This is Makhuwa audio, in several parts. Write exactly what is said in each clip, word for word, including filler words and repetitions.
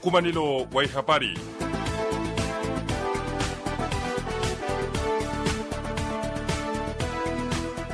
Mukumanelo wa ihapari.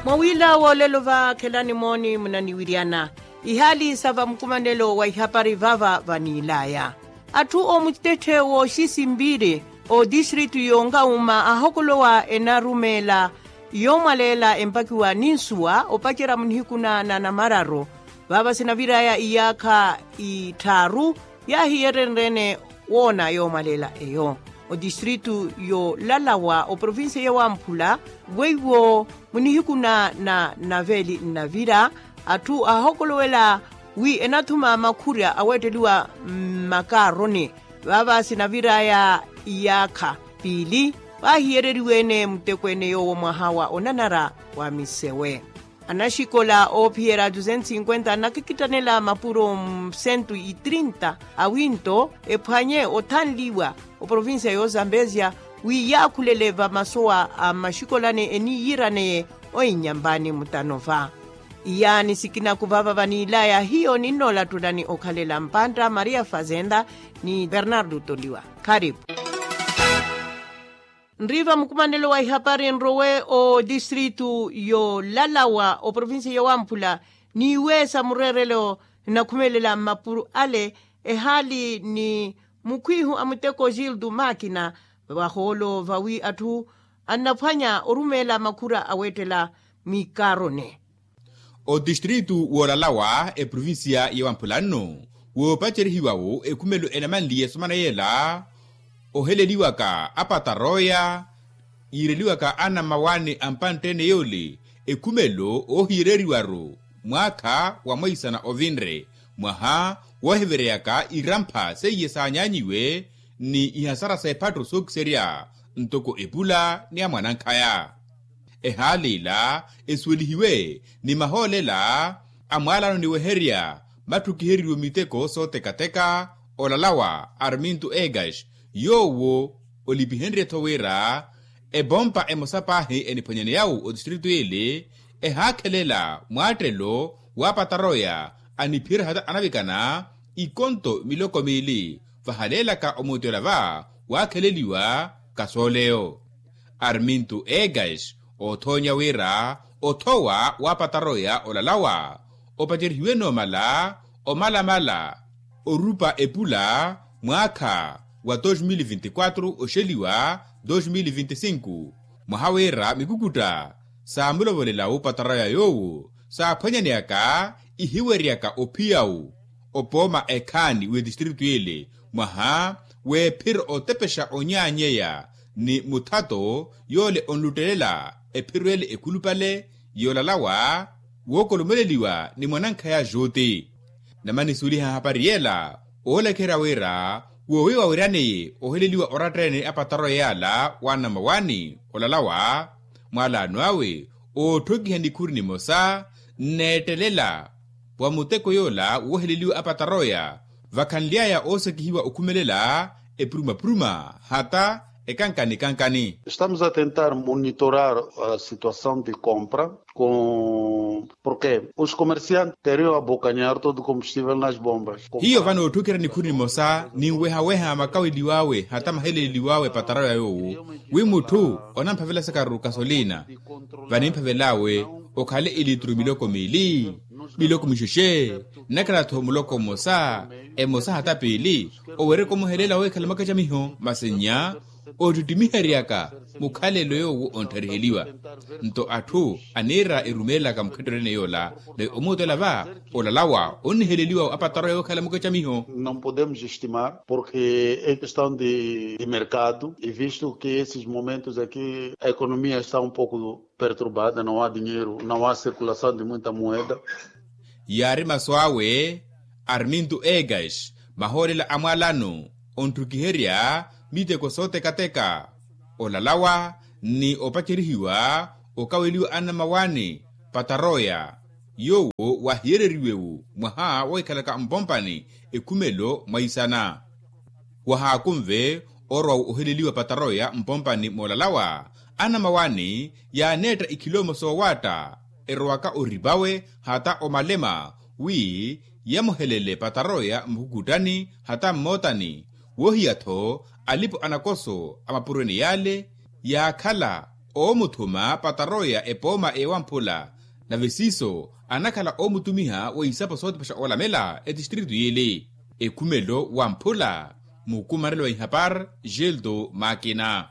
Mwawiila wolelo vakhelani mooni munaniwiryana ihaali sa vamukumanelo wa ihapari vava vaniilaya. Atthu omutetthe wooxisimbiri otistritu y'onkauma ahokolowa enarumeela yoomwaleela empakiwa ni nsuwa opacerya munihiku na namararu. Vava sinaviraya iyaakha itthaaru yaahiyerenrene woona yoomwaleela eyo otistritu y'olalawa oprovincia ya wamphula. Weiwo munihiku na naveli nnavira atthu aahokolowela wi enathuma makhurya aweetteliwa mmakaaroni. Vava sinaviraya iyaakha piili vaahiyereriwe-ene muteko-ene yoowo mwaha wa onanara wa misewe. Anaxikola oophiyerya duzentos cinquenta anakikittanela mapuro mu cento e trinta awinto ephwanye othanliwa oprovincia y'ozambezia wi yaakhulele vamasowa a maxikola ni eniyiraneye oinyampani mutano va. Iyaani sikinaku vava vaniilaya hiyo ninnoolattulani okhalela mpantta maria fazenda ni bernardo toliwa. Kharipu. Nriiva mukumanelo wa ihapari nrowe otistritu y'olalawa oprovincia ya wamphula niiwe sa mureerelo nnakhumelela mmapuro ale ehaali ni mukhwihu a muteko gildo makina vahoolo vawi atthu annaphwanya orumeela makhura aweettela mwikarone. Otistritu woolalawa eprovincia ya wamphula nno woopacerihiwa-wo ekhumelo enamanliye esomana yeela oheleliwaka apataroya yiireliwaka anamawaani a mpantte-ene yoole ekhumelo oohiyereriwa-ru mwaakha wa mwaisana ovinre mwaha woohiveryaka irampha seiye saanyaanyiwe ni ihasara s'ephatto sookiserya ntoko epula ni amwanankhaya. Ehaali ila esuwelihiwe ni mahoolelo a mwaalano niweherya matthukiheriwe miteko sootekateka olalawa arminto egas yoowo olipihenrye-tho wira epompa emosa paahi eniphwanyaneya-wo otistritu ele ehaakhelela mwaattelo wa pataroya aniphiyerya hata anavikana ikonto miloko miili vahaleelaka omuuti ola va waakheleliwa kasooleyo. Arminto egas oothoonya wira othowa wa pataroya olalawa opacerihiwe noomala omalamala orupa epula mwaakha wa dos mil vinti quatro oxeliwa dos mil vinti cinco mwaha wira mikukutta saamulovolela-wo pataroya yoowo saaphwanyaneyaka ihiweryaka ophiya-wo opooma ekhaani w'etistritu ele mwaha w'ephiro otepexa onyaanyeya ni muthato yoole onluttelela ephiro ele ekhulupale yoolalawa wookolomeleliwa ni mwanankhaya juti. Namanisuweliha hapari yeela oolekherya wira woowi wawiraneye oheleliwa oratta-ene apataroya yaala wa namawaani olalawa mwaalaano awe ootthokiha nikhuri nimosa nneettelela wa muteko yoola wooheleliwa apataroya vakhanly'aya oosekihiwa okhumelela epuruma-puruma hata ekankani-kankani. Estamos a tentar monitorar a situação de compra com porque os comerciantes teriam a bocanhar todo o combustível nas bombas. Hiyo vano ootthukira nikhuri nimosa ninweha-weha makaweliw'awe hata maheleleliw'awe pataroya yoowo wi mutthu onamphavelaka sakaru kasolina vanimphavel'awe okhale ilitru miloko miili miloko mixexe nnakhala-tho muloko mmosa emosa hata piili owereke omuhelela woohikhala mwakacamiho masi nnya oottittimiheryaka mukhalelo yoowo onttariheliwa nto atthu aniira erumeelaka mukhetteryo ene yoola nave omuutela va olalawa onniheleliwa apataroya woohikhala mwakacamiho. Não podemos estimar porque é questão de mercado e visto que esses momentos aqui a economia está um pouco perturbada, não há dinheiro, não há circulação de muita moeda. Yaari masu awe arminto egas mahoolela a mwaalano ontthukiherya miteko sootekateka olalawa ni opacerihiwa okaweliwa annamawaani pataroya yoowo waahiyereriwe-wo mwaha woohikhalaka mpompani ekhumelo mwaisana wahaakunve orwa oheleliwa pataroya mpompani moolalawa anamawaani yaaneetta ikhilomo soowaatta erowaka oripawe hata omalema wi yamuhelele pataroya mukhukuttani hata mmootani. Wohiya-tho alipo anakoso a mapurweni yale yaakhala oomuthuma pataroya epooma ewamphula. Nave siiso anakhala oomutumiha wa isapo sootipasha olamela etistritu yili. Ekhumelo wamphula mukumanelo wa ihapar. Gildo makina.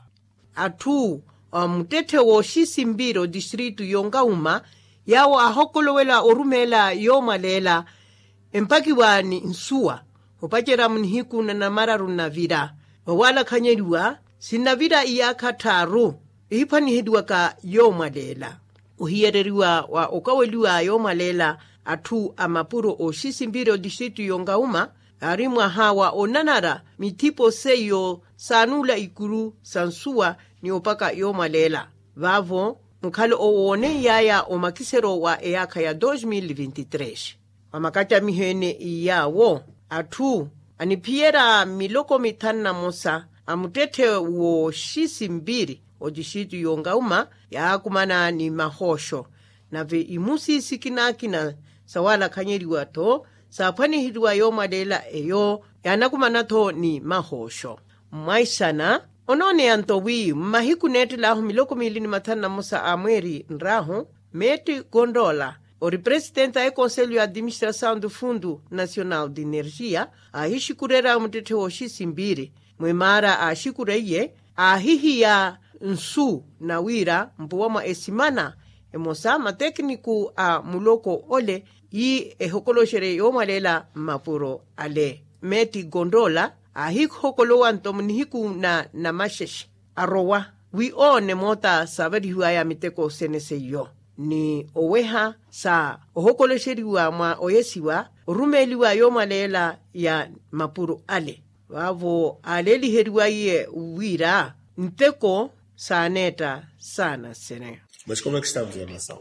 Atthu a muttetthe wooxisimpiri otistritu y'onkauma yaawo aahokolowela orumeela yoomwaleela empakiwa ni nsuwa opacerya munihiku na namararu nnavira. Vawaalakhanyeliwa sinnavira iyaakha tthaaru ihiphwaniheliwaka yoomwaleela. Ohiyereriwa wa okaweliwa yoomwaleela atthu a mapuro ooxisimpiri otistritu y'onkauma yaari mwaha wa onanara mithipo seiyo saanuula ikuru sa nsuwa ni opaka yoomwaleela. Vaavo mukhale owooneiyaya omakisero wa eyaakha ya dos mil vinti tres. Vamakacamiho ene iyaawo atthu aniphiyerya miloko mithanu na mosa a muttetthe wooxisimpiri otistritu y'onkauma yaakumana ni mahooxo. Nave imusi sikinakina sawaalakhanyeliwa-tho saaphwaniheliwa yoomwaleela eyo yaanakumana-tho ni mahooxo. Mwaixana onooneya nto wi mmahiku neettel'ahu miloko miili ni mathanu na mosa a mweeri nr'ahu metti konrola ori presitenti a ekonselyo ya atiministrasawu nto fundu nasional di enerjiya aahixikurerya muttetthe wooxisimpiri. Mwimaara aaxikureiye aahihiya nsu na wira mpuwa mwa esimana emosa matekiniku a muloko ole yi ehokoloxerye yoomwaleela mmapuro ale. Metti konrola aahihokolowa nto munihiku na namaxexe arowa wi oone moota saavalihiwaya miteko sene seiyo ni oweha sa ohokoloxeriwa mwa oyesiwa orumeeliwa yoomwaleela ya mapuro ale. Vaavo aaleeliheriwaiye wira nteko saaneetta saana sene. Mas como é que estamos em relação?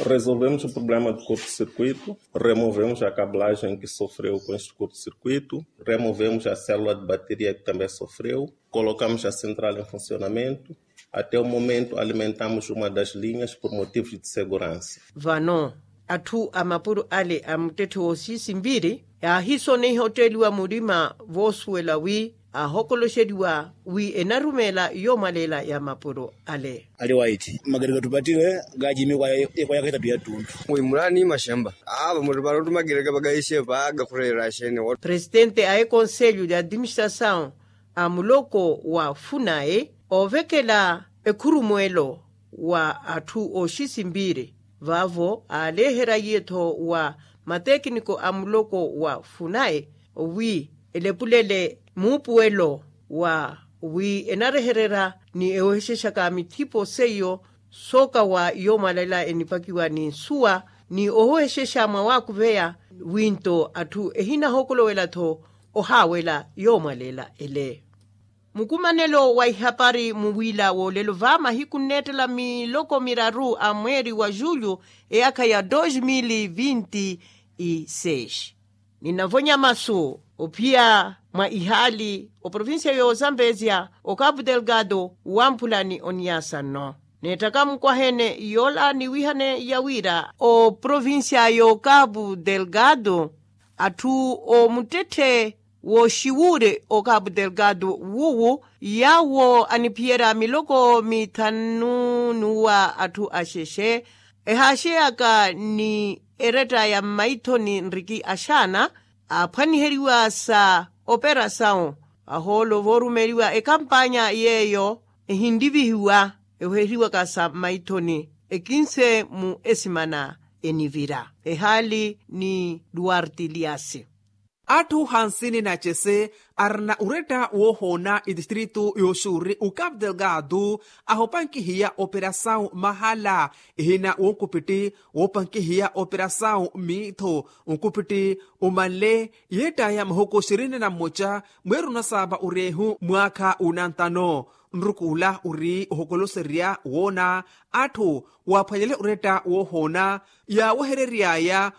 Resolvemos o problema do curto-circuito, removemos a cablajen que sofreu com este curto-circuito, removemos a célula de bateria que também sofreu, colocamos a central em funcionamento. Até o momento alimentamos uma das linhas por motivos de segurança. Vano atthu a mapuro ale a muttetthe woosisimpiri yaahisoneiha otteeliwa murima voosuwela wi aahokoloxeliwa wi enarumeela yoomwaleela ya mapuro ale. Ali waiti makereke tupattiwe kaajimikwa. Ekwayaka etatu ya ttuntu. Wimulani maxempa ava mutupala ottu makereke vakahixe vaaka khureera axene. Presitente a ekonselyo ya atiministrasawu a muloko wa funayi oovekela ekhurumwelo wa atthu ooxisimpiri vaavo aaleeherya iye-tho wa matekiniko a muloko wa funayi wi elepulele muupuwelo wa wi enarehererya ni ewehexexaka mithipo seiyo sookawa yoomwalela enipakiwa ni nsuwa ni ohwexexa mwa waakuveya wi nto atthu ehinahokolowela-tho ohaawela yoomwalela ele. Mukumanelo wa ihapari muwiila woolelo va mahiku nneettela miloko miraru a mweeri wa julho eyaakha ya dos mil vinti e seis. Ninavonya masu ophiya mwa ihaali oprovincia y'ozambezia ocapu delgado wamphula ni oniasa nno. Neettaka mukwahene yoola niwihane ya wira oprovincia y'ocapu delgado atthu omuttetthe wooxiwuure ocapu delgado wuwu yaawo aniphiyerya miloko mithanu n'uwa atthu axexe ehaaxeyaka ni eretta ya mmaithoni nriki axaana aaphwaniheriwa sa operasawu ahoolo voorumeeliwa ekampanya yeeyo ehinrivihiwa ewehiwaka sa mmaithoni ekinse mu esimana enivira. Ehaali ni duwarti liasi. Atthu hansini na cese arina uretta woohoona etistritu yooxuuri ocapu delgado ahopankihiya operasawu mahala ehina wonkupitti woopankihiya operasawu miitho onkupitti omanle yeettaya mahuku xirini na mmoca mweeri onasaapa oreehu mwaakha unantano. Nrukuula ori ohokoloserya woona atthu waaphwanyele oretta woohoona yaawehereryaya